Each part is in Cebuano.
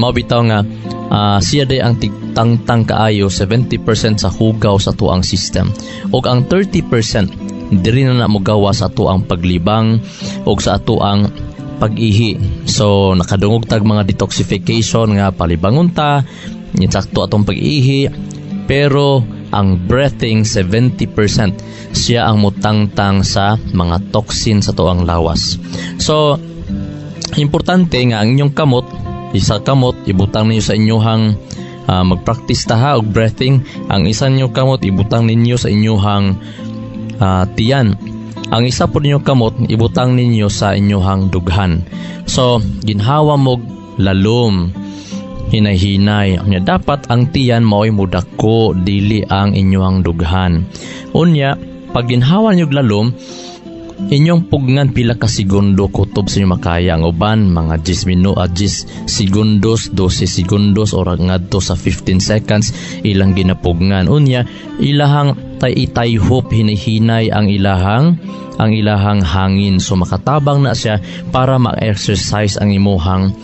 Mao bitaw nga siya day ang tigtangtang kaayo 70% sa hugaw sa atuang system. Ug ang 30% diri na na mogawa sa atuang paglibang ug sa atuang pag-ihi. So nakadungog tag mga detoxification nga palibangon ta, insakto atong pag-ihi, pero ang breathing, 70% siya ang mutangtang sa mga toxin sa tuang lawas. So importante nga ang inyong kamot, isa kamot ibutang ninyo sa inyuhang mag-practice ta ha og breathing. Ang isa ninyo kamot ibutang ninyo sa inyuhang tiyan. Ang isa po ninyo kamot ibutang ninyo sa inyuhang dughan. So ginhawa mo lalom, hinay-hinay. Unya dapat ang tiyan mao'y mudako, dili ang inyong dughan. Unya pag ginhawa niyo lalom, inyong pugnan pila ka segundo kutob sa inyong makaya. Ang uban mga 10 minuto, 10 segundos, 12 segundos or ngadto sa 15 seconds ilang ginapugngan. Unya ilahang tay itayhop hinay-hinay ang ilahang hangin. So makatabang na siya para ma-exercise ang imuhang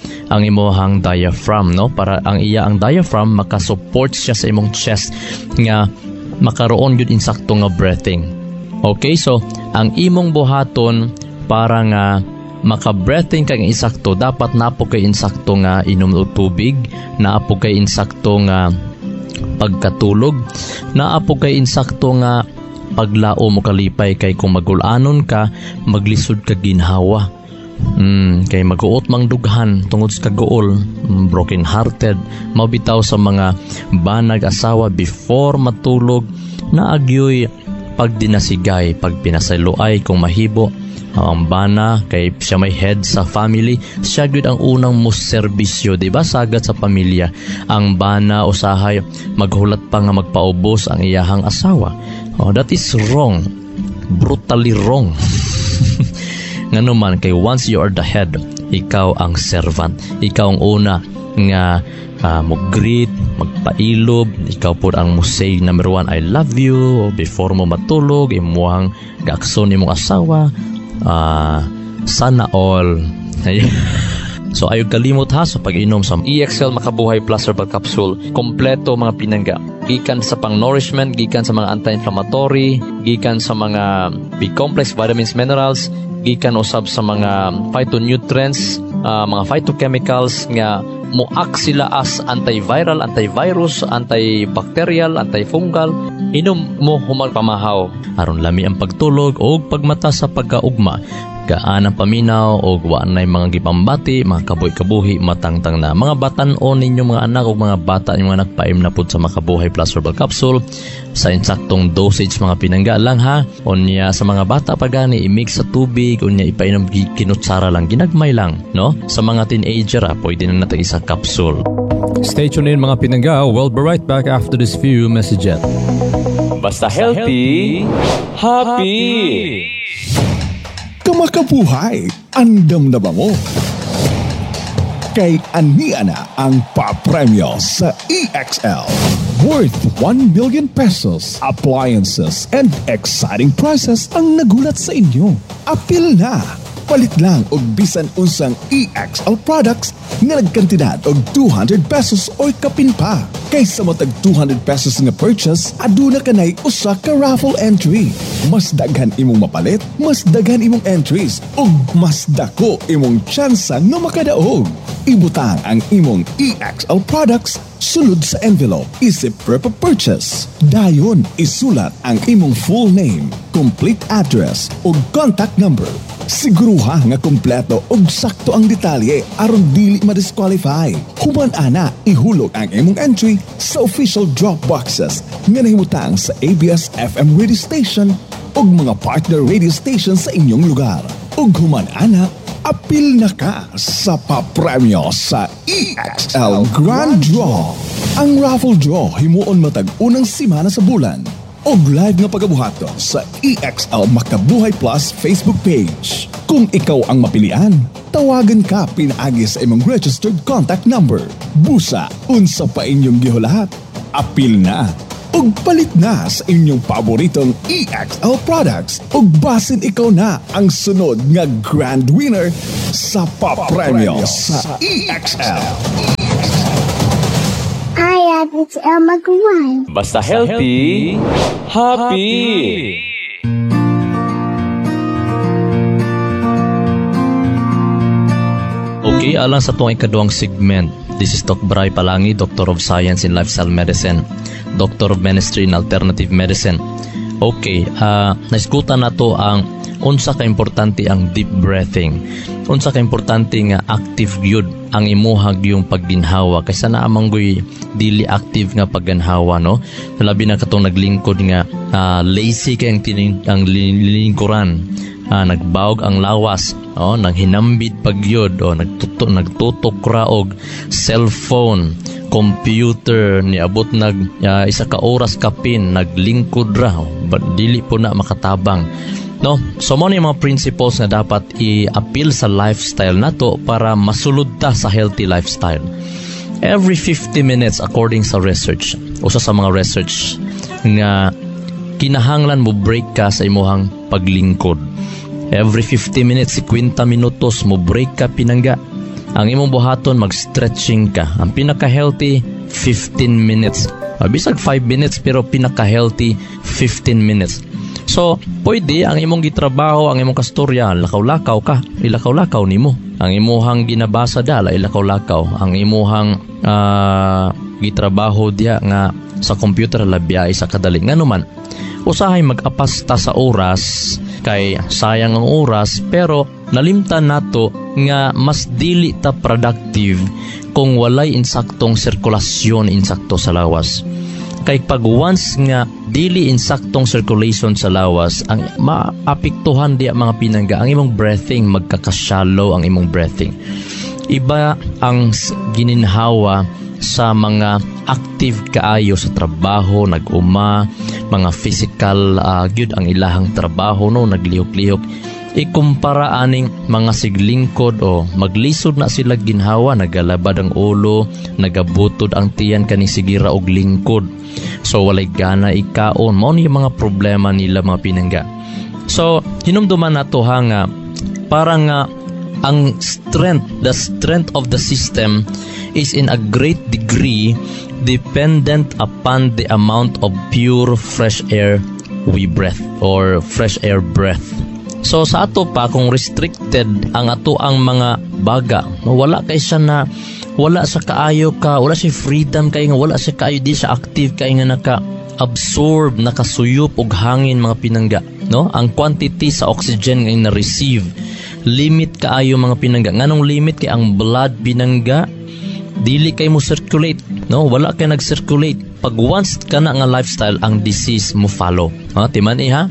diaphragm, no, para ang iya ang diaphragm makasupport siya sa imong chest nga makaroon gyud insakto nga breathing. Okay, so ang imong buhaton para nga maka-breathing kang insakto, dapat napo kay insakto nga inom og tubig, naapo kay insakto nga pagkatulog, naapo kay insakto nga paglao mo kalipay, kay kung magulanon ka, maglisod ka ginhawa. Kay maguot mang dughan tungod sa kaguol, broken hearted, mabitaw sa mga banag asawa before matulog naagyoy pagdinasigay, pagpinasayloay kung mahibo. Ang bana kay siya may head sa family, siya gyud ang unang mo serbisyo, di ba? Sagad sa pamilya. Ang bana usahay maghulat pa nga magpaubos ang iyahang asawa. Oh, that is wrong. Brutally wrong. Ngano man kay once you are the head, ikaw ang servant. Ikaw ang una nga mo greet, magpailob, ikaw po ang mo say number one, "I love you," before mo matulog, imuhang gaakson imong asawa, sana all. So ayaw kalimot ha sa pag-inom sa EXL Makabuhay Plus Herbal Capsule. Kompleto, mga pinangga. Gikan sa pang-nourishment, gikan sa mga anti-inflammatory, gikan sa mga B-complex vitamins, minerals, gikan usab sa mga phytonutrients, mga phytochemicals nga mo-act sila as antiviral, antivirus, antibacterial, antifungal. Inom mo human pamahaw. Aron lami ang pagtulog o pagmata sa pagkaugma. Gaan ang paminaw o wa nay mga gipambati, mga kabuhi-kabuhi, matangtang na. Mga batan-on ninyo mga anak o mga bata ninyong anak, paim na pud sa Makabuhay Plus Herbal Capsule sa insaktong dosage, mga pinangga lang ha. Unya sa mga bata pa gani i-mix sa tubig, unya ipainom kinutsara lang, ginagmay lang, no? Sa mga teenager ah, pwede na natin isa capsule. Stay tuned in, mga pinangga. We'll be right back after this few messages. Basta healthy, happy. Kamakabuhay, andam na ba mo? Kay ania na ang papremyo sa EXL. Worth 1 million pesos, appliances, and exciting prizes ang nagulat sa inyo. Apil na! Palit lang og bisan unsang EXL products nga nagkantidad og 200 pesos or kapin pa. Kaysa matag 200 pesos nga purchase, aduna kanay usa ka raffle entry. Mas daghan imong mapalit, mas daghan imong entries, ug mas dako imong tsansa nga makadaog. Ibutang ang imong EXL products sulod sa envelope isip prep purchase. Dayon isulat ang imong full name, complete address ug contact number. Siguruha nga kompleto ug sakto ang detalye aron dili ma-disqualify. Human ana, ihulog ang imong entry sa official drop boxes nga nahimutang sa ABS FM radio station ug mga partner radio station sa inyong lugar. Ug human ana, apil na ka sa papremyo sa EXL Grand Draw. Ang raffle draw himuon matag unang simana sa bulan og live nga pagabuhaton sa EXL Makabuhay Plus Facebook page. Kung ikaw ang mapilian, tawagan ka pinaagi sa imong registered contact number. Busa, unsa pa inyong gihulat? Apil na ug palit na sa inyong paboritong EXL products ug basin ikaw na ang sunod nga grand winner sa papremyo sa EXL. DZXL Mag-1. Basta healthy, happy. Okay, alang sa tuwang ikaduhang segment. This is Doc Bry Palangi, Doctor of Science in Lifestyle Medicine, Doctor of Ministry in Alternative Medicine. Okay, naisgutan na to ang unsa ka importante ang deep breathing. Unsa ka importante nga active gyud ang imuhag yung pagginhawa kaysa naa manggoy dili active nga pagginhawa, no? Labi na katong naglingkod nga lazy kay ang lingkuran. Nagbawg ang lawas, oh, nanghinambit pagyud, oh, nagtutok ra og cellphone, computer, niabot nag isa ka oras kapin naglingkod ra, oh, but dili po na makatabang, no? So mo ni mga principles nga dapat i-appeal sa lifestyle nato para masulod ta sa healthy lifestyle. Every 50 minutes according sa research, usa sa mga research nga kinahanglan mo break ka sa imuhang paglingkod. Every 50 minutes, 50 minutos mo break ka pinangga. Ang imong buhaton, mag-stretching ka. Ang pinaka-healthy, 15 minutes. Bisag 5 minutes pero pinaka-healthy 15 minutes. So, pwede ang imong gitrabaho, ang imong kastorya, lakaw-lakaw ka, ilakaw-lakaw nimo. Ang imuhang ginabasa dala, ilakaw-lakaw. Ang imuhang gitrabaho diha nga sa computer labiay sa kadali. Nganuman, usahay mag-apas ta sa oras kay sayang ang oras, pero nalimtan nato nga mas dili ta productive kung walay insaktong sirkulasyon insakto sa lawas. Kay pag once nga dili insaktong circulation sa lawas, ang maapektuhan diya mga pinangga ang imong breathing, magkakashallow ang imong breathing. Iba ang gininhawa sa mga active kaayo sa trabaho, nag-uma, mga physical gyud ang ilahang trabaho, no, naglihok-lihok. Ikumpara aning mga siglingkod o maglisod na sila ginhawa, nagalabad ang ulo, nagabutod ang tiyan kaning sigira og lingkod. So walay gana ikaon, mao ni mga problema nila mga pinangga. So hinumduman nato ha nga para nga ang strength, the strength of the system is in a great degree dependent upon the amount of pure fresh air we breathe or fresh air breath. So sa ato pa kung restricted ang ato ang mga baga, no, wala kay siya na wala sa kaayo ka, wala siya freedom kay nga wala siya kaayo, di siya active kay nga naka-absorb, nakasuyop og hangin mga pinangga, no? Ang quantity sa oxygen nga na-receive limit kaayo mga pinangga. Nganong limit kay ang blood pinangga dili kay mo circulate, no? Wala kay nag-circulate. Pag once ka na nga lifestyle, ang disease mo follow. Ha, timan iha.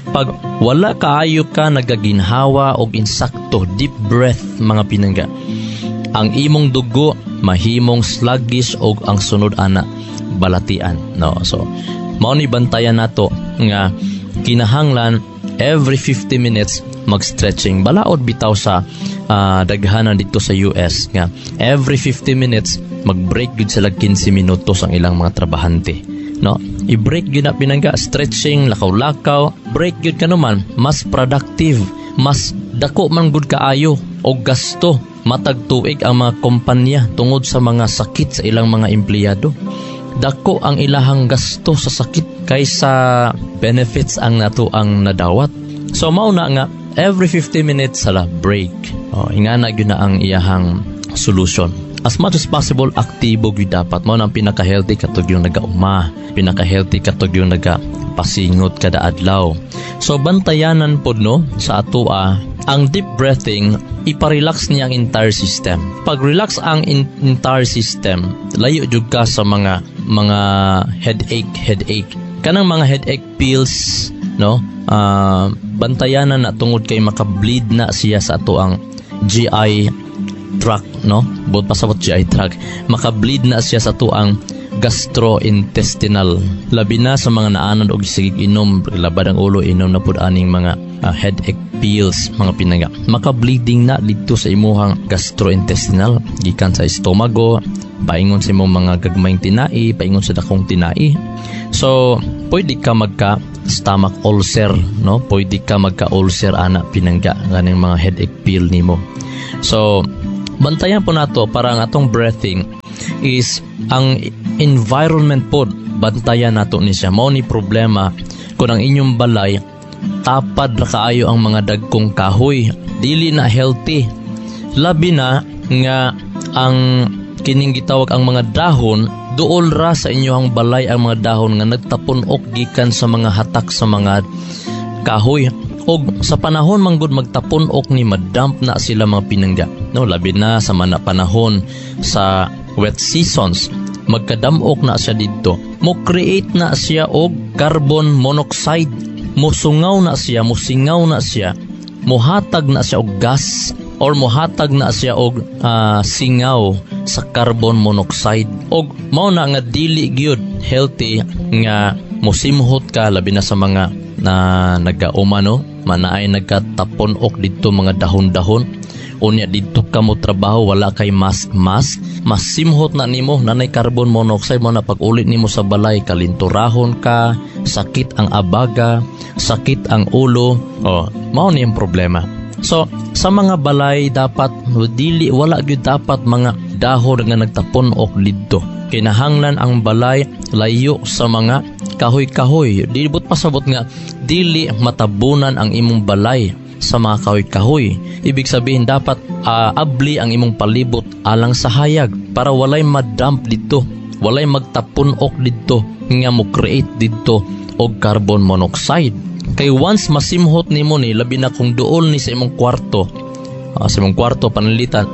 Pag wala kaayo ka nagaginhawa og insakto, deep breath mga pinangga, ang imong dugo mahimong sluggish og ang sunod ana balatian, no? So mao ni bantayan nato nga kinahanglan every 50 minutes mag-stretching. Balaod bitaw sa daghanan dito sa US nga every 50 minutes mag-break gyud sila 15 minutos ang ilang mga trabahante, no? I-break gyud na pinangga, stretching, lakaw-lakaw, break gyud kanuman, mas productive, mas dako man gud kaayo og gasto matag tuig ang mga kompanya tungod sa mga sakit sa ilang mga empleyado. Dako ang ilahang gasto sa sakit kaysa benefits ang nato ang nadawat. So mao na nga every 50 minutes sala break. O, ingana gyud na ang iyahang solution. As much as possible aktibo gyud dapat. Mao na ang pinaka-healthy katog yung nagauma, pinaka-healthy katog yung nagapasingot kada adlaw. So bantayanan pod no sa atoa ang deep breathing, iparelax niya ang entire system. Pag relax ang entire system, layo jud ka sa mga headache. Kanang mga headache pills, no? Bantayanan na tungod kay makableed na siya sa ato ang GI tract, no? Buot pasabot GI tract. Makableed na siya sa ato ang gastrointestinal. Labi na sa mga naanad og sige inom, labad ang ulo, inom na pud aning mga headache pills, mga pinangga. Makableeding na dito sa imuhang gastrointestinal, gikan sa estomago, paingon sa imong mga gagmayng tinai, paingon sa dakong tinai. So, pwede ka magka stomach ulcer, no? Pwede ka magka ulcer ana pinangga ganing mga headache pill nimo. So, bantayan po nato para ang atong breathing is ang environment pod, bantayan nato ni siya. Mao ni problema kung ang inyong balay tapad ra kaayo ang mga dagkong kahoy, dili na healthy, labi na nga ang kining gitawag ang mga dahon, duol ra sa inyong balay ang mga dahon nga nagtapon-ok gikan sa mga hatak sa mga kahoy. Og sa panahon manggod magtapon-ok ni, madamp na sila, mga pinangga, no? Labi na sa mana panahon sa wet seasons, magkadamok na siya didto, mo create na siya og carbon monoxide, mosungaw na siya, mosingaw na siya, mohatag na siya og gas or mohatag na siya og singaw sa carbon monoxide. Og mao na nga dili gyud healthy nga mosimhot ka, labi na sa mga na nagauma, no, manaay nagkatapon-ok didto mga dahon-dahon. Unya didto ka mo trabaho, wala kay mask mask, masimhot na nimo, nanay carbon monoxide mo na. Pag ulit nimo sa balay, kalinturahon ka, sakit ang abaga, sakit ang ulo. Oh, mao ni ang problema. So sa mga balay, dapat dili, wala gyud dapat mga dahon nga nagtapon-ok didto. Kinahanglan ang balay layo sa mga kahoy-kahoy. Dili but pasabot nga dili matabunan ang imong balay sa mga kahoy-kahoy. Ibig sabihin, dapat abli ang imong palibot alang sa hayag para walay madamp didto, walay magtapun-ok didto nga mo create didto og carbon monoxide. Kay once masimhot nimo ni, labi na kung duol ni sa imong kwarto, sa imong kwarto pananglitan,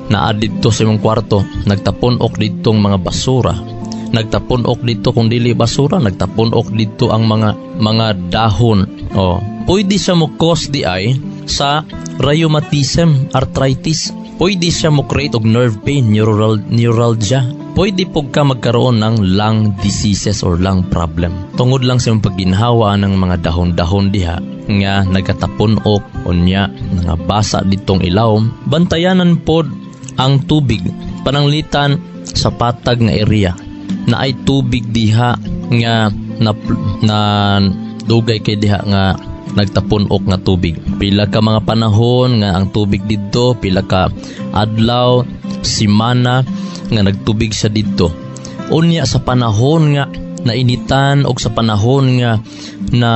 naa didto sa imong kwarto, nagtapon-ok didtong mga basura, nagtapon-ok didto, kung dili basura, nagtapon-ok didto ang mga dahon. Oh, pwede siya mo cause di ay sa rheumatism, arthritis. Pwede siya mo create og nerve pain, neuralgia. Pwede pud ka magkaroon ng lung diseases or lung problem tungod lang sa imong pagginhawa ng mga dahon-dahon diha nga nagatapon-ok, unya nga basa ditong ilawom. Bantayanan pod ang tubig, pananglitan sa patag nga area na ay tubig diha nga na dugay kay diha nga nagtapon-ok nga tubig. Pila ka mga panahon nga ang tubig didto, pila ka adlaw, simana nga nagtubig siya didto. Unya sa panahon nga nainitan og sa panahon nga na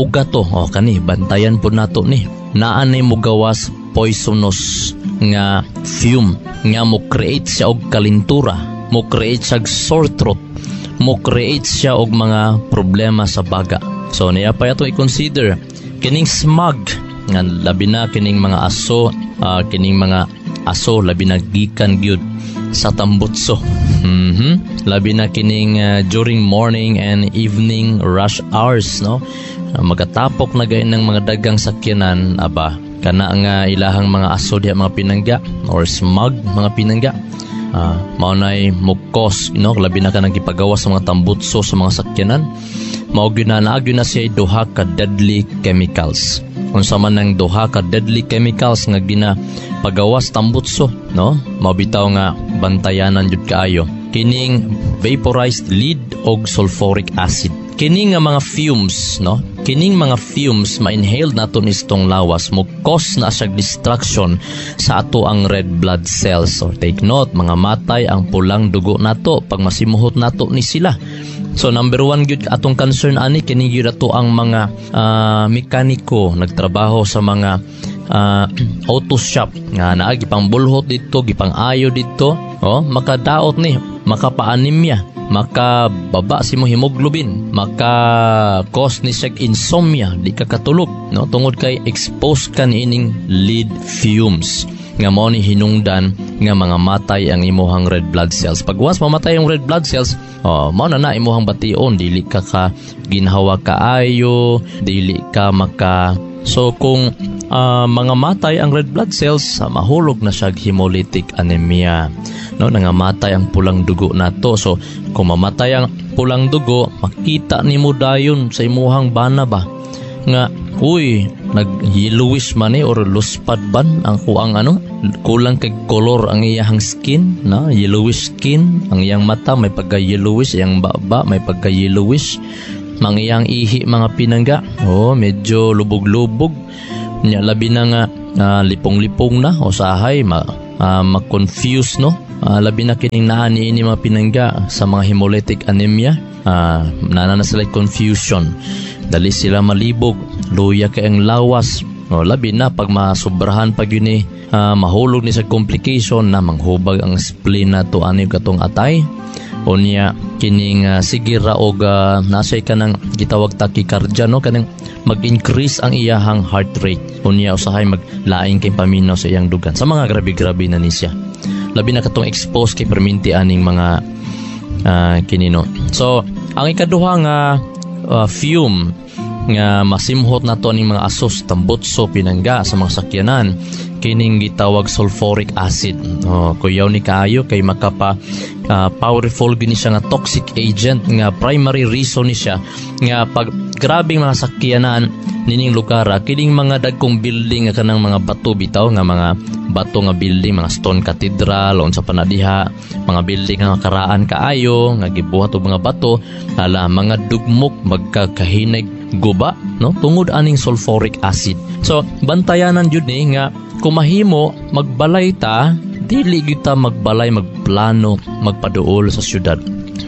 ugato, oh, kani bantayan po nato ni. Naa nay mogawas poisonous nga fume nga mo create siya og kalintura, mo create siya og sore throat, mo create siya og mga problema sa baga. So niya pa ato i-consider kining smog nga labi na kining mga aso, kining mga aso labi na gikan gyud sa tambutso. Labi na kining during morning and evening rush hours, no? Magatapok na gayon ng mga dagang sakyanan, aba, kana nga ilahang mga aso diha, mga pinangga, or smog, mga pinangga. Mao nay mo cause, no, labi na kanang gipagawas sa mga tambutso sa mga sakyanan. Mao gyud na naa gyud na siya duha ka deadly chemicals. Unsa man ang duha ka deadly chemicals nga gina pagawas tambutso, no? Mao bitaw nga bantayanan jud kaayo kining vaporized lead og sulfuric acid. Kini nga mga fumes, no, kining mga fumes ma-inhale nato nistong lawas, mo cause na siya destruction sa ato ang red blood cells. So take note, mga matay ang pulang dugo nato pag masimuhot nato ni sila. So number one gyud atong concern ani, kini gyud ato ang mga mekaniko nagtrabaho sa mga auto shop nga naa gipang-bulhot didto, gipang-ayo didto, oh, makadaot ni, makapa-anemia, makababa si mo hemoglobin, maka cause ni siya insomnia, di ka katulog, no, tungod kay expose ka niining lead fumes nga mao ni hinungdan nga mga matay ang imuhang red blood cells. Pag once mamatay ang red blood cells, oh, mao na na imuhang bation, dili ka ka ginhawa kaayo, dili ka maka. So kung mga matay ang red blood cells, mahulog na siya hemolytic anemia. No, nangamatay ang pulang dugo nato. So kung mamatay ang pulang dugo, makita nimo dayon sa imuhang bana ba nga uy, nag-yellowish man eh, or luspad ban ang kuang ano, kulang kay color ang iyang skin, no, yellowish skin ang iyang mata, may pagka yellowish iyang baba, may pagka yellowish mga iyang ihi, mga pinangga, oh, medyo lubog-lubog nya, labi na nga lipong-lipong na usahay ma-confuse, no. Labi na kining naa niini, mga pinangga, sa mga hemolytic anemia, naa na sila confusion, dali sila malibog, luya kay ang lawas. No, labi na pag masubrahan pag yun eh, mahulog ni sa complication na manghubag ang spleen nato ani katong atay. Unya kining sige ra og nasay kanang gitawag tachycardia, no, kanang mag-increase ang iyahang heart rate. Unya usahay maglaing kay paminaw sa iyang dugan sa mga grabe-grabe na ni siya, labi na katong expose kay perminti aning mga kinino. So ang ikaduha nga fume nga masimhot nato ning mga asos, tambutso, pinangga, sa mga sakyanan, kining gitawag sulfuric acid. Oh, kuyaw ni kaayo kay makapa powerful gini siya nga toxic agent nga primary reason ni siya nga pag grabing mga sakyanan nining lugar, kining mga dagkong building nga kanang mga bato bitaw, nga mga bato nga building, mga stone cathedral, unsa pa na diha, mga building nga karaan kaayo nga gibuhat og mga bato, hala, mga dugmok, magkakahinay, guba, no, tungod aning sulfuric acid. So bantayanan jud ni nga kumahimo magbalay ta, dili gyud ta magbalay, magplano magpaduol sa syudad.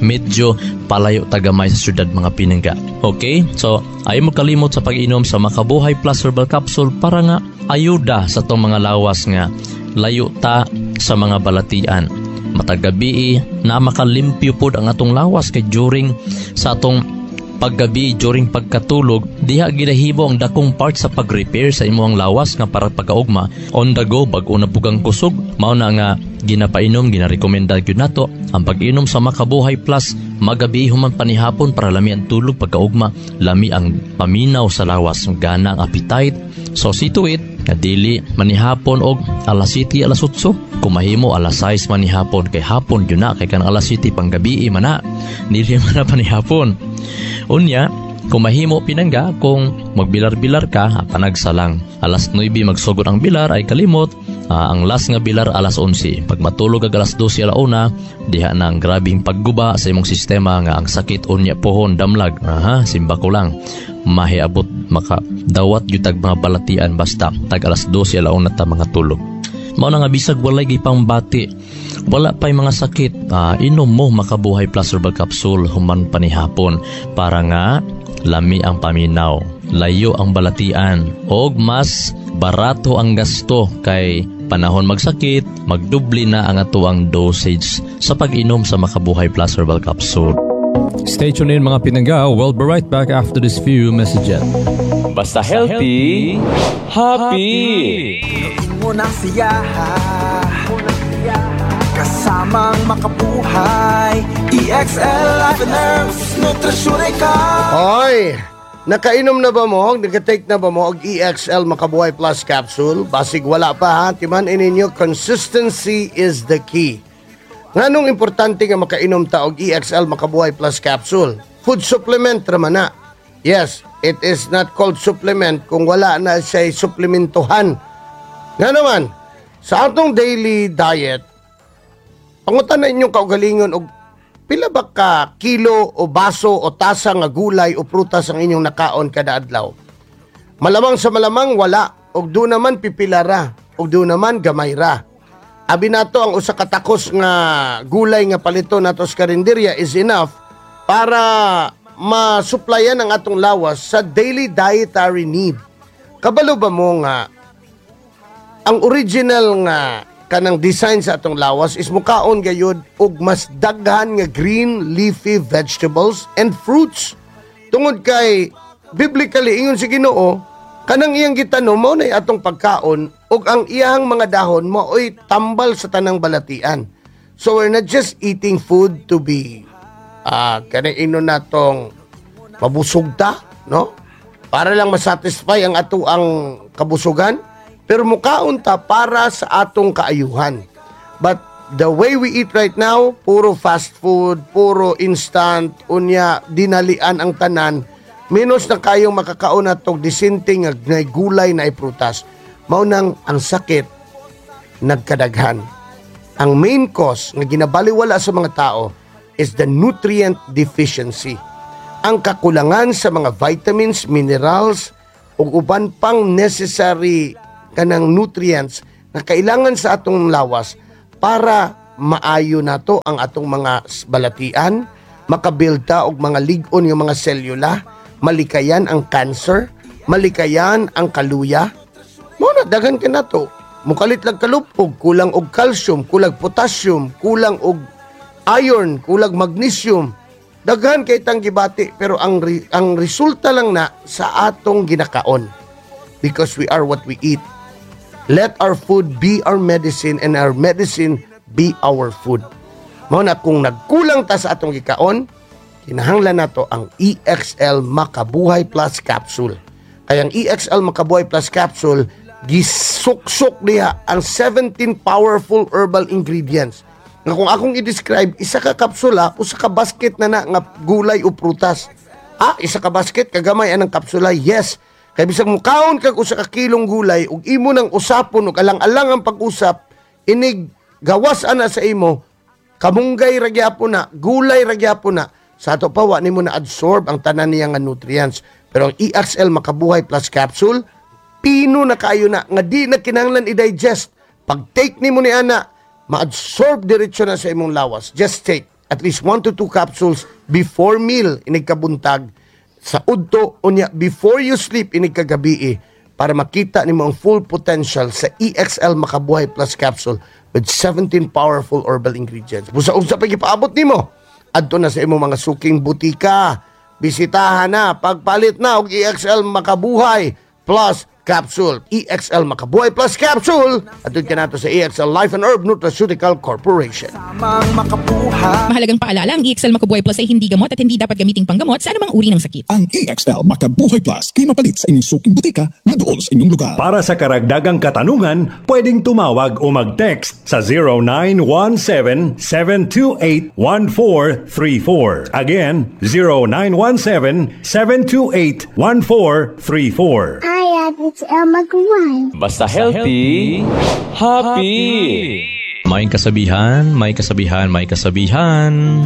Medyo palayo tagamay sa syudad, mga pinangga. Okay, so ayaw mo kalimot sa pag-inom sa Makabuhay Plus Herbal Capsule para nga ayuda sa tong mga lawas nga layo ta sa mga balatian. Matag gabi na makalimpyo pod ang atong lawas kay during sa atong paggabi, during pagkatulog, diha ginahimo ang dakong part sa pag-repair sa imong lawas nga para pagkaugma on the go, bag-o na pugang kusog. Mao na nga ginapainom, ginarekomenda gyud nato ang pag-inom sa Makabuhay Plus magabi human panihapon para lami ang tulog, pagkaugma lami ang paminaw sa lawas, gana ang appetite. So see to it nga dili manihapon og alas 7, alas 8. Kumahimo alas 6 manihapon kay hapon yun na, kay kanang alas 7 panggabi man na, dili man na panihapon. Unya kumahimo, pinangga, kung magbilar-bilar ka, panagsa lang alas 9 magsugod ang bilar, ay kalimot, ang last nga bilar alas 11. Pag matulog ag alas 12, alauna, diha na ang grabing pagguba sa imong sistema nga ang sakit unya pohon damlag. Aha, simba ko lang mahiabot maka dawat gyud tag mga balatian basta tag alas 12, alauna ta mga tulog. Mao na nga bisag walay gipangbati, wala pa'y mga sakit, inom mo Makabuhay Plus Herbal Capsule human panihapon para nga lami ang paminaw, layo ang balatian, og mas barato ang gasto kay panahon magsakit, magdubli na ang atuang dosage sa pag-inom sa Makabuhay Plus Herbal Capsule. Stay tuned in, mga pinangga. We'll be right back after this few messages. Basta healthy, happy. Mo ng siyaha kasamang makabuhay. EXL Life and Herbs Nutrisyon ikaw. Hoy! Nakainom na ba mo? Naka-take na ba mo og EXL Makabuhay Plus Capsule? Basig wala pa ha. Timan ninyo, consistency is the key. Nganong importante nga makainom ta og EXL Makabuhay Plus Capsule? Food supplement raman na. Yes, it is not called supplement kung wala na siya suplementuhan. Nga naman, sa atong daily diet, pangutan na inyong kaugalingon og pila ba ka kilo o baso o tasa nga gulay o prutas ang inyong nakaon kada adlaw? Malamang sa malamang wala, og do naman pipila ra, og do naman gamay ra. Abi nato ang usa ka takos nga gulay nga palito nato sa karinderya is enough para masuplayan ang atong lawas sa daily dietary need. Kabalo ba mo nga ang original nga kanang design sa atong lawas is mukaon gayud og mas daghan nga green leafy vegetables and fruits, tungod kay biblically ingon si Ginoo, kanang iyang gitanom mao nay atong pagkaon ug ang iyang mga dahon mao'y tambal sa tanang balatian. So we're not just eating food to be kanang inon natong mabusog ta, no, para lang masatisfy ang ato ang kabusugan, pero mukaon ta para sa atong kaayuhan. But the way we eat right now, puro fast food, puro instant, unya dinalian ang tanan, menos na kayong makakaon natong disente nga nay gulay na prutas. Mao nang ang sakit nagkadaghan. Ang main cause nga ginabaliwala sa mga tao is the nutrient deficiency. Ang kakulangan sa mga vitamins, minerals, ug uban pang necessary kanang nutrients na kailangan sa atong lawas para maayo nato ang atong mga balatian, makabuild ta og mga lig-on nga mga selula, malikayan ang cancer, malikayan ang kaluya. Mao na daghan ka nato. Mukalit lang kalupog, kulang og calcium, kulang potassium, kulang og iron, kulang magnesium. Daghan kay tang gibati, pero ang resulta lang na sa atong ginakaon. Because we are what we eat. Let our food be our medicine and our medicine be our food. Mao na kung nagkulang ta sa atong gikaon, kinahanglan nato ang EXL Makabuhay Plus Capsule. Kaya ang EXL Makabuhay Plus Capsule, gisuksok niya ang 17 powerful herbal ingredients. Nga kung akong i-describe, isa ka kapsula, usa ka basket na na nga gulay o prutas. Ah, isa ka basket, kagamay anang kapsula, yes. Kay bisag mukaon kag usa ka kilong gulay ug imo nang usapon ug alang-alang ang pag-usap, inig gawas ana sa imo, kamunggay ra gyapon na, gulay ra gyapon na. Sa ato pa wa nimo na absorb ang tanan niya nga nutrients. Pero ang EXL Makabuhay Plus Capsule, pino na kaayo na nga di na kinahanglan i-digest. Pag take nimo ni ana, ma-absorb diretso na sa imong lawas. Just take at least 1 to 2 capsules before meal inig kabuntag, sa udto unya before you sleep inig kagabi, para makita nimo ang full potential sa EXL Makabuhay Plus Capsule with 17 powerful herbal ingredients. Busa unsa pa gipaabot nimo? Adto na sa imong mga suking butika. Bisitahan na, pagpalit na og EXL Makabuhay Plus Capsule. EXL Makabuhay Plus Capsule. Adto ka nato sa EXL Life and Herb Nutraceutical Corporation. Tamang makabuhay. Mahalagang paalala, ang EXL Makabuhay Plus ay hindi gamot at hindi dapat gamiting panggamot sa anumang uri ng sakit. Ang EXL Makabuhay Plus kay mapalit sa inyong suking butika na duol sa inyong lugar. Para sa karagdagang katanungan, pwedeng tumawag o mag-text sa 0917-728-1434. Again, 0917-728-1434. Hi, it's Elma Guan. Basta healthy, happy. May kasabihan, may kasabihan, may kasabihan.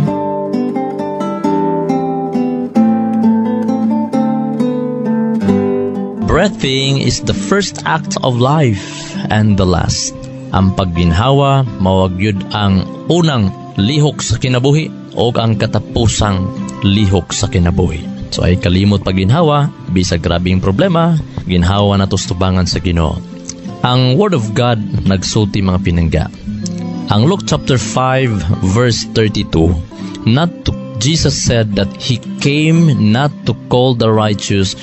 Breathing is the first act of life and the last. Ang pagginhawa, mawag yun ang unang lihok sa kinabuhi o ang katapusang lihok sa kinabuhi. So ay kalimot pagginhawa, bisag grabing problema, ginhawa na tustubangan sa Ginoo. Ang Word of God nagsulti, mga pinangga. Ang Luke chapter 5 verse 32, not to Jesus said that he came not to call the righteous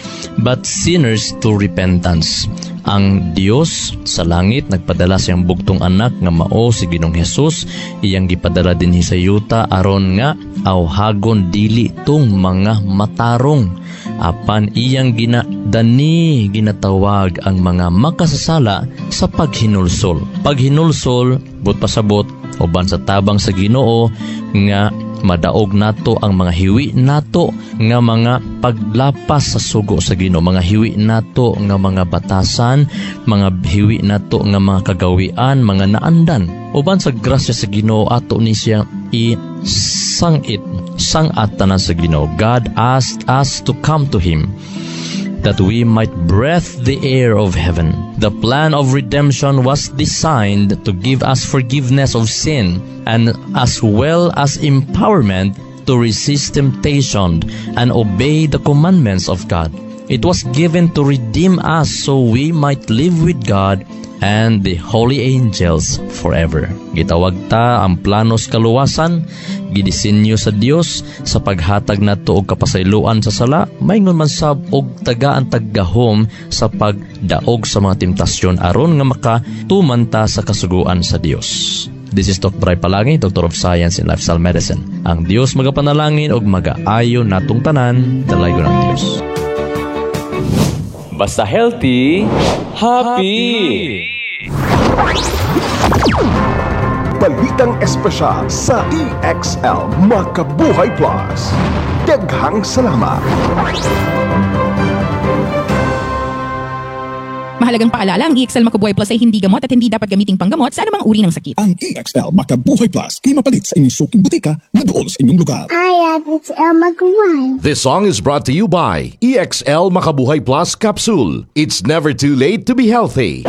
but sinners to repentance. Ang Dios sa langit nagpadala siyang bugtong anak nga mao si Ginoong Hesus, iyang gipadala dinhi sa yuta aron nga awhagon dili tung mga matarong, apan iyang ginadani ginatawag ang mga makasasala sa paghinulsol. Paghinulsol, but pasabot uban sa tabang sa Ginoo nga madaog nato ang mga hiwi nato nga mga paglapas sa sugo sa Ginoo, mga hiwi nato nga mga batasan, mga hiwi nato nga mga kagawian, mga naandan. Uban sa grasya sa Ginoo ato ni siya i-sangit, sangat tanan sa Ginoo. God asked us to come to Him that we might breathe the air of heaven. The plan of redemption was designed to give us forgiveness of sin and as well as empowerment to resist temptation and obey the commandments of God. It was given to redeem us so we might live with God and the holy angels forever. Gitawag ta ang planos kaluwasan, gidisenyo sa Dios sa paghatag nato og kapasayloan sa sala, maingon man sab og tagaan taggahom sa pagdaog sa mga temptasyon aron nga makatuman ta sa kasuguan sa Dios. This is Dr. Ray Palangi, Doctor of Science in Lifestyle Medicine. Ang Dios magapanalangin og magaayo natong tanan, dalaygon ang Dios. Basta healthy, happy. Balitang espesyal sa EXL Makabuhay Plus. Daghang salamat. Mahalagang paalala, ang EXL Makabuhay Plus ay hindi gamot at hindi dapat gamiting panggamot sa anumang uri ng sakit. Ang EXL Makabuhay Plus kay mapalit sa inyong suking butika na dool sa inyong lugar. Hi, it's Elma Guan. This song is brought to you by EXL Makabuhay Plus Capsule. It's never too late to be healthy.